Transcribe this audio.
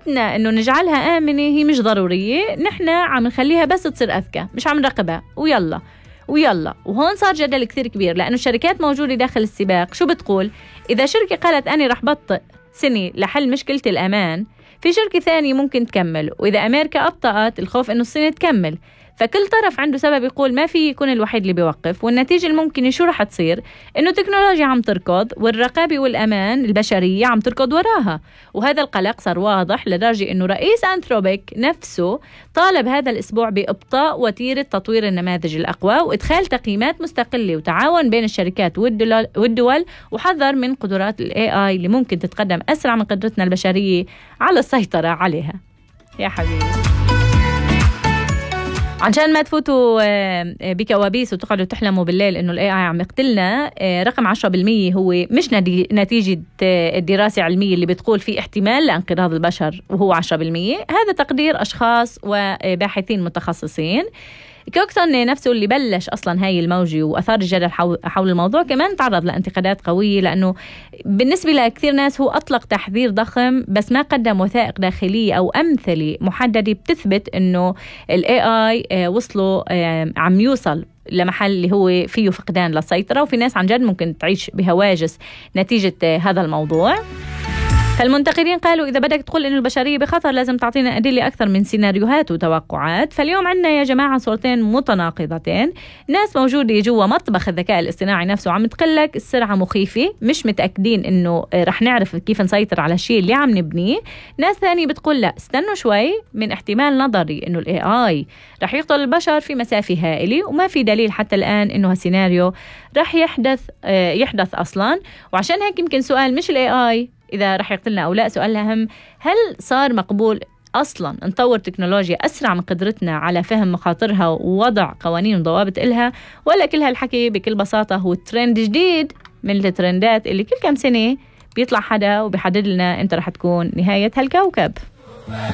قدرتنا إنه نجعلها آمنة هي مش ضرورية، نحن عم نخليها بس تصير أذكى، مش عم نراقبها ويلا. وهون صار جدل كثير كبير، لأنه الشركات موجودة داخل السباق. شو بتقول؟ إذا شركة قالت أنا رح بطئ سنة لحل مشكلة الأمان، في شركة ثانية ممكن تكمل، وإذا أمريكا أبطأت الخوف إنه الصين تكمل. فكل طرف عنده سبب يقول ما في يكون الوحيد اللي بيوقف. والنتيجة الممكنة شو رح تصير؟ إنه التكنولوجيا عم تركض والرقابة والأمان البشرية عم تركض وراها. وهذا القلق صار واضح لدرجة إنه رئيس أنثروبيك نفسه طالب هذا الأسبوع بإبطاء وتيرة تطوير النماذج الأقوى وإدخال تقييمات مستقلة وتعاون بين الشركات والدول، وحذر من قدرات ال AI اللي ممكن تتقدم أسرع من قدرتنا البشرية على السيطرة عليها. يا حبيبي، عشان ما تفوتوا بكوابيس وتقعدوا تحلموا بالليل إنه ال AI عم يقتلنا، رقم 10% هو مش نتيجة الدراسة العلمية اللي بتقول في احتمال لانقراض البشر وهو 10%. هذا تقدير أشخاص وباحثين متخصصين. كوكسون نفسه اللي بلش أصلا هاي الموجة وأثار الجدل حول الموضوع كمان تعرض لانتقادات قوية، لأنه بالنسبة لكثير ناس هو أطلق تحذير ضخم بس ما قدم وثائق داخلية أو أمثلة محددة بتثبت أنه ال AI وصلوا عم يوصل لمحل اللي هو فيه فقدان للسيطرة، وفي ناس عن جد ممكن تعيش بهواجس نتيجة هذا الموضوع. فالمنتقدين قالوا إذا بدك تقول إنه البشرية بخطر لازم تعطينا أدلة أكثر من سيناريوهات وتوقعات. فاليوم عنا يا جماعة صورتين متناقضتين. ناس موجودة جوا مطبخ الذكاء الاصطناعي نفسه عم تقلك السرعة مخيفة، مش متأكدين إنه رح نعرف كيف نسيطر على الشيء اللي عم نبنيه. ناس ثانية بتقول لا، استنوا شوي، من احتمال نظري إنه ال AI رح يقتل البشر في مسافة هائلة، وما في دليل حتى الآن إنه هالسيناريو رح يحدث أصلا. وعشان هيك يمكن سؤال مش ال AI إذا رح يقتلنا أو لا، سؤال أهم، هل صار مقبول أصلاً نطور تكنولوجيا أسرع من قدرتنا على فهم مخاطرها ووضع قوانين وضوابط إلها، ولا كل هالحكي بكل بساطة هو ترند جديد من الترندات اللي كل كم سنة بيطلع حدا وبيحدد لنا أنت رح تكون نهاية هالكوكب؟